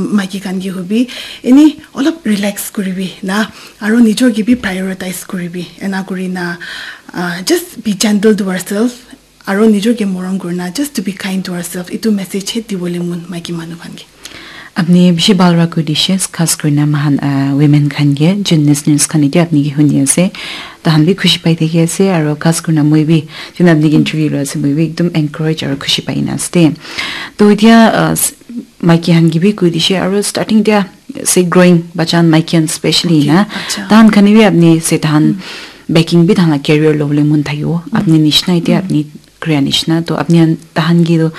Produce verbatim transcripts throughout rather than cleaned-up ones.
Maiki khan ke hobi, eni olop relax kuribi na, aro nijor ke bi prioritize kuribi. Ena kuri na, uh, just be gentle to ourselves. Aro nijor ke morom kurina, just to be kind to ourselves. Itu message he dibole mon maiki manu khan ke. Apni bishi bhal para koi dishe, khas kurina mahan, ah, women khan ke, jun listeners khan ite apni ke huni ase. Tahan bi khushi pai thaki ase, aro khas kurina moi bi, jun apni ke interview lo ase, moi bi ekdum encourage aro khushi pai na ase. To itia, ah, s-, maiki khan ke bi koi dishe, aro starting dia, say growing, bachan maiki khan specially na. Acha. Tahan khan bi apni se tahan baking bi tahan la career lo bole mon thakibo. Apni nishna ite apni koria nishna. To apni khan, tahan ke to,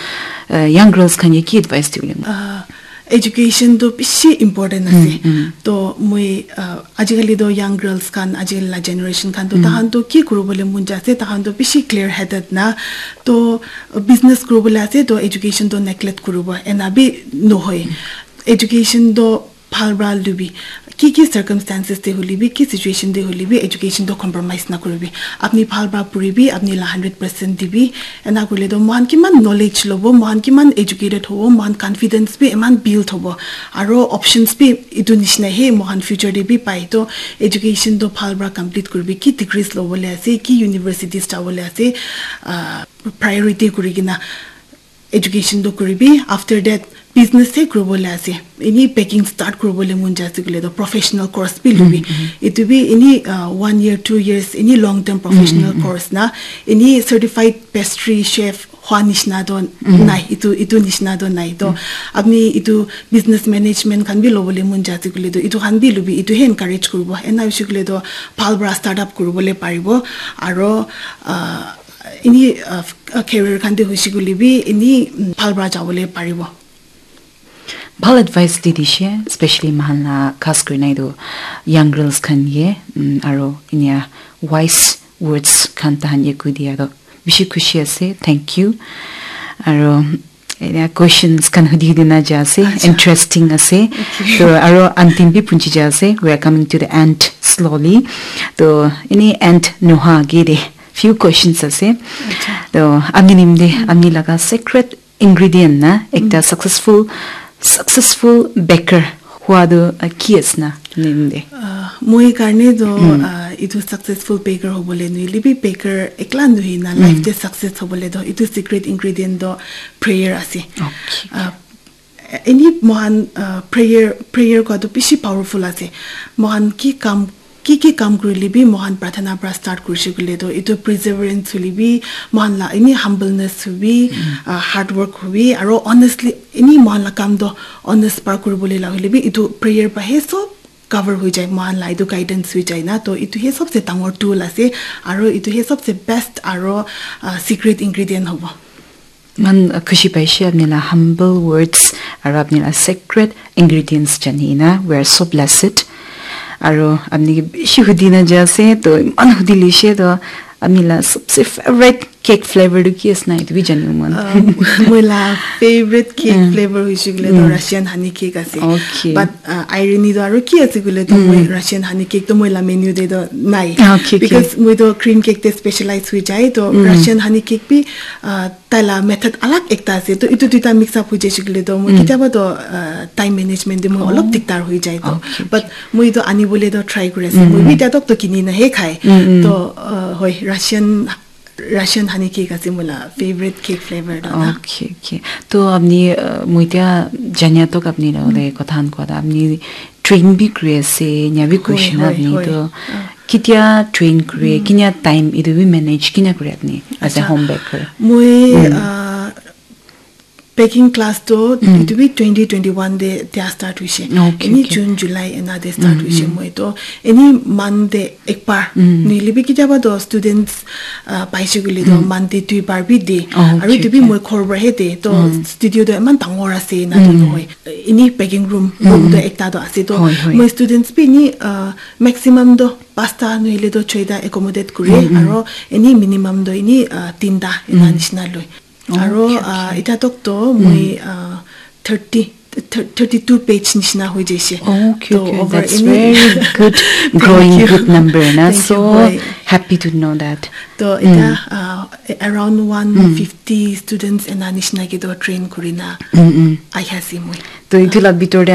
uh, young girls khan ke ki advice dibole mon? Uh, education to bishi important ase. To moi, uh, ajikali to young girls khan, ajikali la generation khan to tahan to ki kuribole mon jai ase, tahan to bishi clear headed na. To business kuribole ase, to education to neglect kuribo. Ena bi nohoi. Education to bhal para lubi. Ki ki circumstances te hoile bi, ki situation te hoile bi, education to compromise na kuribi. Apni bhal para puribi, apni la hundred percent dibi. Ena kurile to mohan kiman knowledge lobo, mohan kiman educated hobo, mohan confidence bi eman build hobo. Aro options bi itu nishina he mohan future te bi pai. To education to bhal para complete kuribi. Ki degrees lobole ase, ki universities jabole ase, ah, priority kuri kena education to kuribi. After that, business he kuribole ase. Eni baking start kuribole mon jai ase koile to professional course bi lubi. Itu bi eni, uh, one year, two years, eni long term professional course na. Eni certified pastry chef hua nishna to nai. Itu, itu nishna to nai. To apni itu business management khan bi lobole mon jai ase koile to itu khan bi lubi. Itu he encourage kuribo. Ena hoise koile to bhal para startup kuribole paribo. Aro, uh, eni, uh, career khan te hoise koile bi eni, mm, bhal para jabole paribo. Bhal advice di dishe, especially mahan la khas kurina itu young girls khan ye, mm, aro inia wise words khan tahan ye koi dia to bishi khushi ase. Thank you. Aro inia questions khan hudi hudi na ja ase, interesting ase. To aro antim bi punchi ja ase. We are coming to the end slowly. To eni end noha age de few questions ase. To ami nimde, ami laga secret ingredient na ekta successful, successful baker hua tu, uh, ki ase na nimde? Uh, moi karne to, uh, itu successful baker hobole nohile bi baker ekla nohoi na life te success hobole to itu secret ingredient to prayer ase. Okay. Uh, eni mohan, uh, prayer, prayer kua tu bishi powerful ase. Mohan ki kam, ki ki kam kurile bi mohan prathana pra start kurise koile to itu perseverance hule bi, mohan la eni humbleness hobi, uh, hard work hobi, aro honestly eni mohan la kam to honest pra kuribole la hule bi itu prayer pra he sob cover hoi jai, mohan la itu guidance hoi jai na. To itu he sobse dangor tool ase, aro itu he sobse best aro, uh, secret ingredient hobo. Iman khushi paishe apni la humble words aro apni la secret ingredients jani na. We are so blessed. Aro apni ke bishi hudi na ja ase, to iman hudi lishe to apni la sabse favorite cake flavor tu ki ase na, itu bi jani mon. Um, moi la favorite cake flavor hoise koile to Russian honey cake ase. Okay. But, uh, irony to aro ki ase koile to moi Russian honey cake to moi la menu te to nai. Ah, okay, okay. Because moi to cream cake te specialize hoi jai, to Russian honey cake bi, uh, tai la method alag ekta ase, to itu duita mix up hoi jaise koile to moi ketiaba to, uh, time management te moi olop dikdar hoi jai to. Okay, okay. But moi to anibole to try kuri ase. Moi bi tia tok to kini na he khai. To, uh, hoi, Russian, Russian honey cake ase moi la favorite cake flavor to na. Okay, okay. To apni, uh, moi tia jania tok apni la ole kotha han kua ta apni train bi kuri ase, nya bi koi shina apni to. Ketia train kure, kinya time itu bi manage kinya kure apni as a home baker? Moi, uh, baking class to itu bi twenty twenty-one te tia start hoise. Okay, okay. June, July ena te start hoise moi to. Eni month te ekbar. Nohile bi ketiaba to students, uh, paise koile to month te duibar bi de. Aru itu bi moi ghor pra he de. To studio to eman dangor ase na to nohoi. Eni baking room, room to ekta to ase to. Moi students bi eni, uh, maximum to pasta nohile to choita accommodate kure, aro eni minimum to eni, ah, tinta ena nishina loi. Aro, ah, eta tok to moi, ah, thirty, thir-, thirty-two page nishina hoi jaise. Okay, to okay, over that's eni very good, growing good number na. Thank you, so hoi. Happy to know that. To eta, ah, around one fifty students ena nishina ke to train kurina ahi ase moi. To itu la bitor te